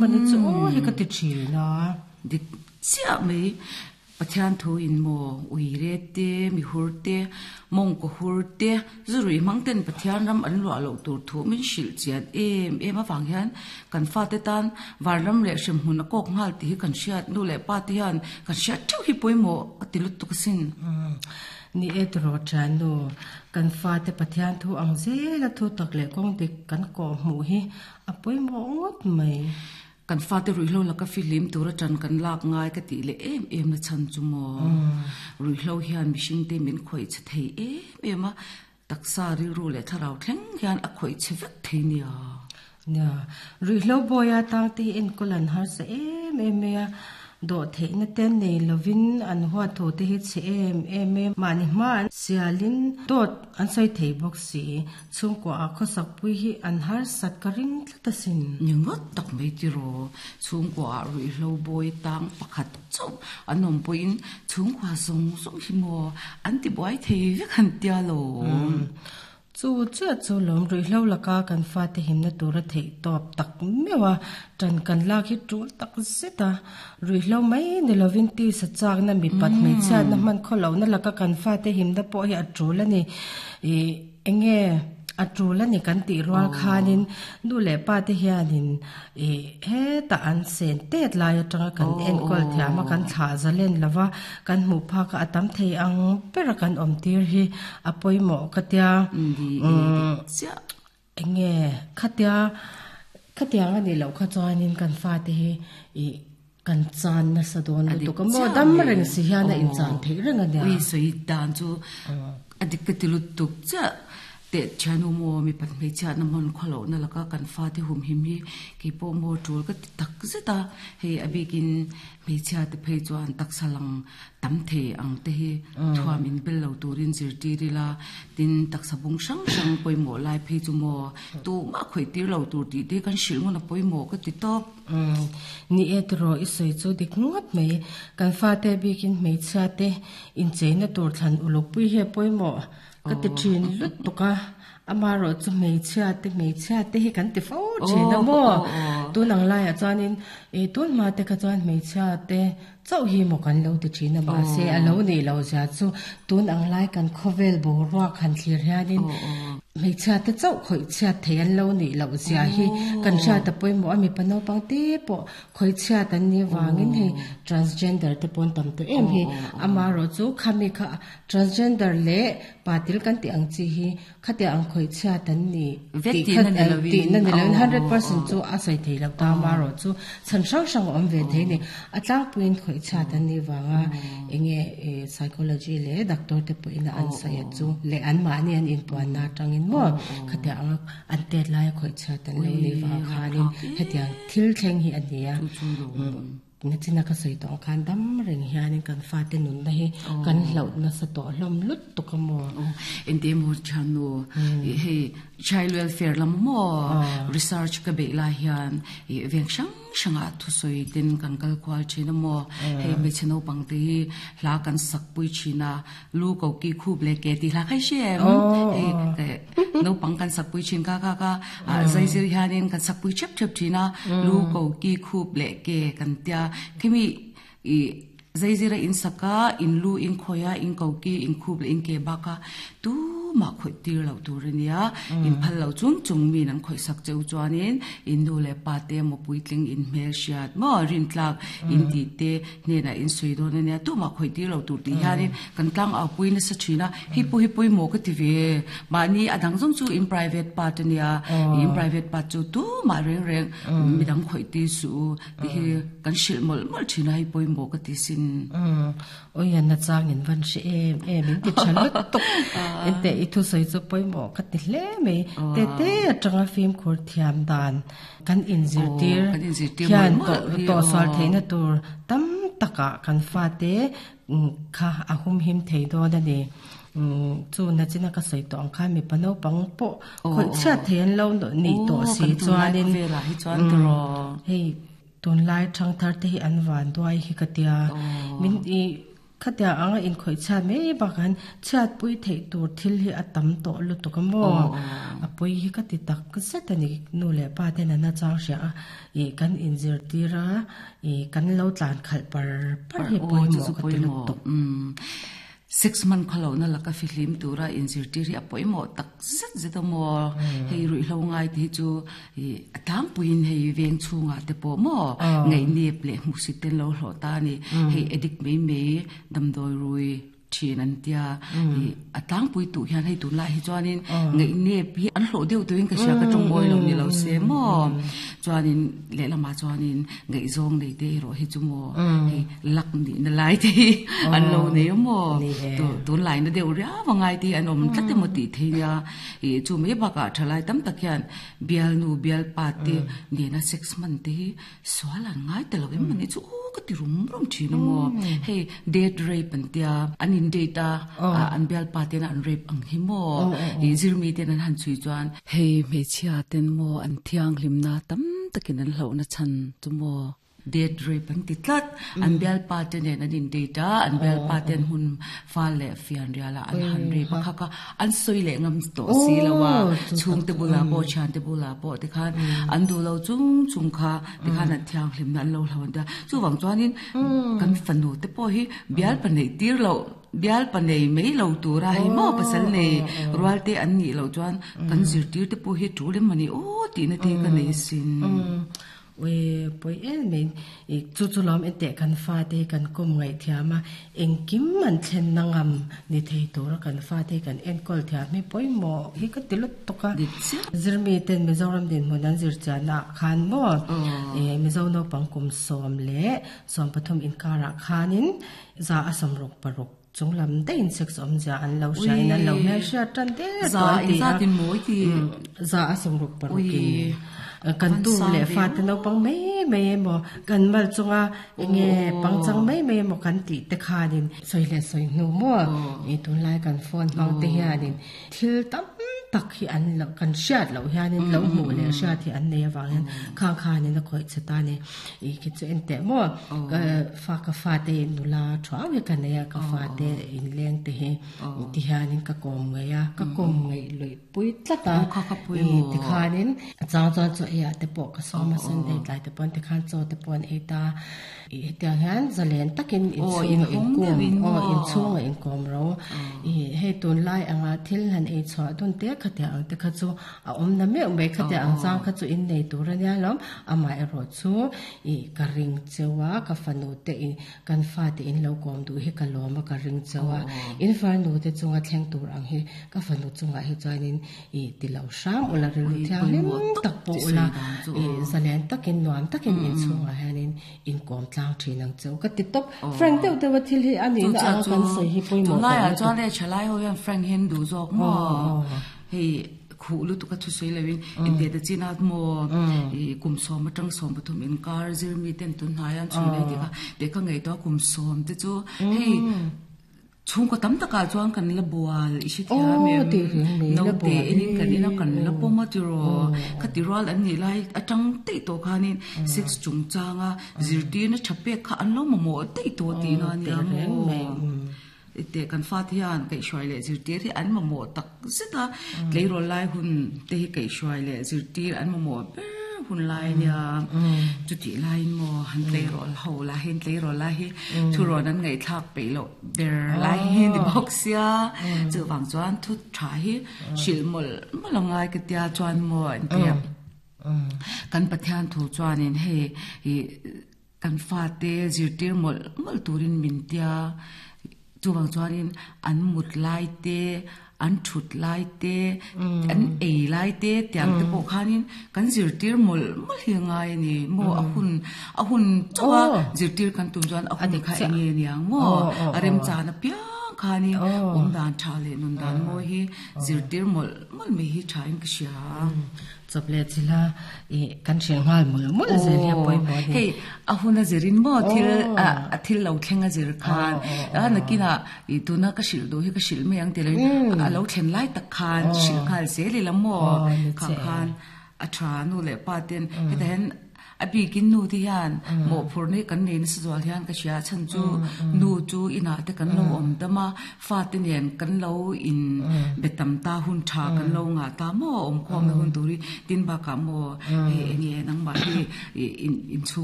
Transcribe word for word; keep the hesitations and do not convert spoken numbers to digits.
Mani chu aw hi ka ti thin a. Dik chiah mai. Pathian thu in maw uire te, mi hur te, mawngkaw hur te, zurui hmang ten Pathian ram an luah loh tur thu min hrilh chian em em avang hian kan fate tan vanram leh hremhmun a kawk nghal tih hi kan hriat nu leh pa te hian kan hriat theuh hi pawimawh a ti lutuk asin. Ni e tiraw thiannu, kan fate Pathian thu ang zela thu tak leh kawng dik kan kawh hmuh hi a pawimawh ngawt mai. Kan fate ruihhlo laka fihlim tura tan kan lak ngai ka tih leh em em na chhan chu maw. Ruihhlo hian mihring te min khawih chhe thei em em a, taksa rilru leh thlarau thleng hian a khawih chhe vek thei nia. Nia, ruihhlo bawia tang te hi enkawl an harsa em em mai a, dawh theihna te nei lovin an huat thu te hi chhe em em mai a, mahni hma an sialin dawt an sawi thei bawk si, chhungkua ah khawsak pui hi an harsat ka ring tlat asin. Ni ngawt tak mai tiraw, chhungkua ah ruihhlo bawi tang pakhat chauh an awm pawhin chhungkua zawng zawng hi maw an ti buai thei vek han tia lo. Chu chiah chu lawm ruihhlo laka kan fate himna tura theih tawp tak meuh a, tan kan lak hi tul tak zet a, ruihhlo mai ni lovin tisa chakna mipat hmeichhiatna hman khawlohna laka kan fate himna pawh hi a tul a ni. Ih enge a tul a ni kan tih rual khanin nu leh pa te hianin ih hetah an sen tet lai atanga kan enkawl thiam a, kan thlah zalen lova kan hmuh phak a a tam thei ang bera kan awm tir hi a pawimawh ka tia. Umm enge khatia khatiang a nih loh kha chuanin kan fate hi ih kan chan nasa dawn lutuk a maw, dam reng si hian a inchan theih reng a nia. Ui sawi dan chu a dik ka ti lutuk chiah. Teh thianu maw mipat hmeichhiatna hmun khawlohna laka kan fate humhim hi keipawh maw tul ka ti tak zet a, hei a bikin hmeichhia te phei chuan taksa lang tam thei ang te hi thuam in bel lo turin zirtir ila, tin taksa bung hrang hrang pawimawh lai phei chu maw tumah khawih tir lo tur tih te kan hrilh ngun a pawimawh ka ti tawp. Ni e tiraw i sawi chu dik ngawt mai, kan fate bikin hmeichhia te incheina tur thlan uluk pui hi a pawimawh ka ti thin lutuk a, amaherawh chu hmeichhia te hmeichhia te hi kan ti fo thin a maw, tun ang laiah chuanin ih tun hma te kha chuan hmeichhia te chauh hi maw kan lo ti thin a, mahse a lo nih loh zia chu tun ang lai kan khawvel boruak han thlir hianin hmeichhia te chauh khawih chhiat thei an lo nih loh zia hi kan hriat a pawimawh a, mipa naupang te pawh khawih chhiat an nih avangin hei transgender te pawh an tam tawh em hi, amaherawh chu khami kha transgender leh patil kan tih ang chi hi khatia ang khawih chhiat an ni tih kha tihna ni lovin hundred percent chu a sawi thei lo ta, amaherawh chu chhan hrang hrang a awm ve thei a ni, a tlangpuiin khawih chhiat an nih vanga enge psychology leh doctor te pawhin an sawi a chu leh anmahni an inpuanna atangin maw khatia anga an tet laia khawih chhiat an lo nih vang khanin hetiang thil thleng hi a ni a. Nachina ka sawi tawh ang khan dam reng hianin kan fate nunna hi kan hlauh nasa tawh hlawm lutuk a maw. Ente maw thiannu, hei child welfare lam maw research ka beih lai hian veng hrang hrangah thusawi ten kan kal kual thin a maw, hei hmeichhe naupang te hi hla kan sak pui thin a, lu ko ki khup leh ke tih hla kha i hre em? Hei naupang kan sak pui thin kha kha kha zai zir hianin kan sak pui thep thep thin a, lu ko ki khup leh ke kan tia khimi ih zai zira in sak a, in lu in khawi a, in ko ki in khup leh in ke bak a tumah khawih tir loh tur a nia, in phal loh chung chung min an khawih sak cheu chuanin in nu leh pa te emaw puitling in hmel hriat maw rintlak in tih te hnenah in sawi dawn a nia, tumah khawih tir loh tur tih hianin kan tlang au pui nasa thin a, hei pawh hi pawimawh ka ti ve, mahni a dang zawng chu in private part a nia, in private part chu tumah reng reng midang khawih tir suh u tih hi kan hrilh mawlh mawlh thin a, hei pawimawh ka ti sin. Awi na chang in van hre em em in ti tha lutuk ente i thu sawi chu pawimawh ka ti hle mai, te te atanga fimkhur thiam dan kan inzirtir hian tawh sual theihna tur tam takah kan fate kha a humhim thei dawn a ni. Chu nachina ka sawi tawh ang khan mipa naupang pawh khawih chhiat thei an lo nih tawh si chuanin hei tunlai thangthar te hi an van duai hi ka tia, min ih Khatia anga in khoi cha me ba kan chat pui thei tur thil hi atam to lu to ka mo a pui hi ka ti tak zet ani nu le pa te na na chang sia a e kan in zir tira e kan lo tlan khal par par hi pui mo ka ti lu to six month khalo na laka fihlim tura in zir tiri a poimo tak zet zet mo hei rui hlo ngai ti chu atang puin hei veng chunga te po mo ngai nep le hmusit ten lo hlo ta ni hei addict mei mei damdoi rui thin an tia atang pui tu hian hei tun lai hi chuanin ngai nep hi an hlo deuh tuin ka sia ka tongoi lo ni lo se mo chuanin le lama chuanin ngai zong nei te ro hi chu mo hei lak ni na lai te an lo nei mo tu tun lai na deuh ria wangai te an om tlat te mo ti theia e chu me baka thalai tam tak hian bial nu bial pa te ne na six month te swal an ngai te lo em mani chu ka ti rum rum thin mo hei date rape an tia an in data an bial pa te na an rape ang hi mo e zirmi te nan han chui chuan hei me chia ten mo an thiang hlim na tam takin an hlo na chan chu mo date rape an ti tlat an bial pa te nen an in data an bial pa ten hun fa le fian riala an han rape kha ka an soi le ngam to si lawa chung te bula po chan te bula po te khan an du lo chung chung kha te khan an thiang hlim na an lo hlawan ta chu wang chuanin kan fanu te po hi bial pa nei tir lo bial pa nei mei lo tura hi mo pasal nei rual te an ni lo chuan kan zir tir te po hi tu le mani o ti na te ka nei sin we poi en me e chu chu lam en te kan fa te kan kom ngai thiama engkim man thlen nangam ni thei tur kan fa te kan en kol thiam mi poi mo hi ka tilut toka zirmi ten Mizoram din mon an zir chana khan mo e Mizo no pangkum som le som pathum in kara khanin za asam rok parok chung lam te in sex om ja an lo sha in an lo me sha tan te za in za tin moi ti za asam rok parok in kan tu le fa te no pang mei mei mo kan mal chunga nge pang chang mei mei mo kan ti te khanin soi le soi nu mo e tun lai kan phone hang te hianin thil tam tak hi an lo kan hriat lo hianin lo hmu le hriat hi an nei awang hian khang khanin a khawih che ta ni i khi chu en teh maw ka fa ka fa te nula thuau hi ka nei a ka fa te in leng te hi ti hianin ka kawm ngei a ka kawm ngei lui pui tlat a ti khanin chang chuan chaw ei ah te pawh ka sawm a Sunday tlai te pawn ti khan chaw te pawn ei ta i hetiang hian zalen takin inchhunga inkawm aw inchhunga inkawm ro i hei tun lai anga thil han ei chhuah dun te khatia ang te kha chu a awm na meuh mai khatia ang chang kha chu in nei tur ania lawm amah erawh chu i ka ring chewa ka fanu te in kan fa te in lo kawm duh hi ka lawm a ka ring chewa in farnu te chunga thleng tur ang hi ka fanu chunga hi chuanin i ti lo hram ula rilru thiang hlim tak pawh ula i zalen takin nuam takin inchhungah hianin inkawm tlang thin ang cheu ka ti tawp Frank deuh deuh a thil hi ani na ang kan sawi hi pawimawh tunlaiah chuan le thalai ho hian Frank hian duh zawk maw hei khu lu tu ka thu sei lewin in te te china mo i kum som atang som pathum in kar zir mi ten tun hnai an chui nei ti kha te ka ngei to kum som te chu hei chung ko tam taka chuan kan la bual i si thia me no te in kan ina kan la poma ti ro kha ti ral an ni lai atang te to khanin six chung changa zir ti na chape kha an lo mo mo te to ti na ni mo te kan fa thian kai shwai le zir tir hi an mo mo tak zeta tlei rol lai hun te hi kai shwai le zir tir an mo mo hun lai nia chu ti lai mo han tlei rol ho la hen tlei rol lai hi thu ron an ngai thak pe lo ber lai hi ni box ya chu wang chuan thu tha hi shil mol malongai ka tia chuan mo an tia kan pathian thu chuan in he i kan fa te zir tir mol mol turin min tia chu wang chuanin an mut lai te an thut lai te an ei lai te tiang te pawh khanin kan zirtir mol mol hi ngai ni mo a hun a hun chawa zirtir kan tum chuan a hun kha enge niang mo a rem chan a piang khani om dan tha le nun dan mo hi zirtir mol mol me hi thain ka sia chople chila e kan hrel ngal mul mul zel hi poi mo hei a huna zirin mo thil a thil lo thlenga zir khan a nakina i tuna ka sil do hi ka sil me ang te le a lo thlen lai tak khan sil khal zel i la mo kha khan a tha nu le pa ten heta hen A bikin nu te hian mawhphurhna hi kan nei nasa zual hian ka hria chhan chu nu chu inah te kan lo awm dam a, fate nen kan lo in be tam ta hun tha kan lo ngah ta maw awm khawmna hun tur hi tin bakah maw hei enge nangmah hi in inchhung